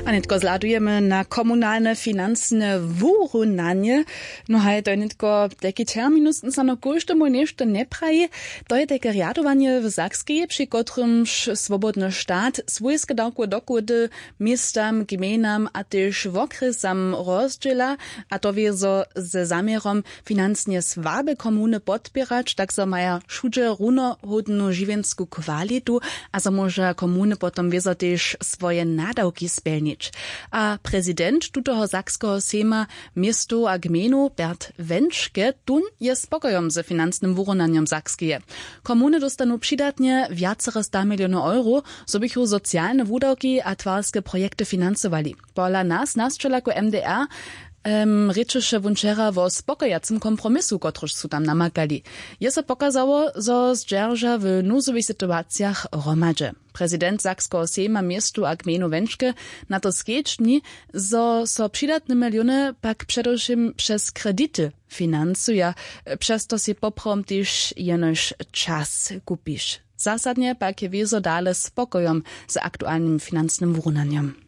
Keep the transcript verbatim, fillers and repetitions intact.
A nětko zhladujemy na komunalne financne wurunanje. No haj, to je nětko tajki terminus, sano kóždemu něšto njepraji. To je tajke rjadowanje w Sakskej, při kotrymž swobodny stat swójske dawkowe dochody městam, gmejnam a tež wokrjesam rozdźěla, a to wězo ze zaměrom financnje słabe komuny podpěrać, tak zo maja wšudźe runohódnu žiwjensku kwalitu a zo móža komuny potom wězo tež swoje nadawki spjelnić. A prezident tutoho sakskeho sejma městow a gmejnow Bert Wenčke tón je spokojom ze financnym wurunanjom Sakskeje. Komuny dóstanu přidatnje wjacere sta milionow euro, zo bychu socialne wudawki a twarske projekty financowali. Pola nas nasćelaku M D R rěčeše wón wčera wo spokojacym kompromisu, kotryž su tam namakali. Je so pokazało, zo zdźerža w nuzowych situacijach hromadźe. Prezident sakskeho sejma městow a gmejnow Wenčke na to skedźbni, zo so přidatne miliony pak předewšěm přez kredity financuja, přez to sej poprawom tež jenož čas kupiš. Zasadnje pak je wězo dale spokojom z aktualnym financnym wurunanjom.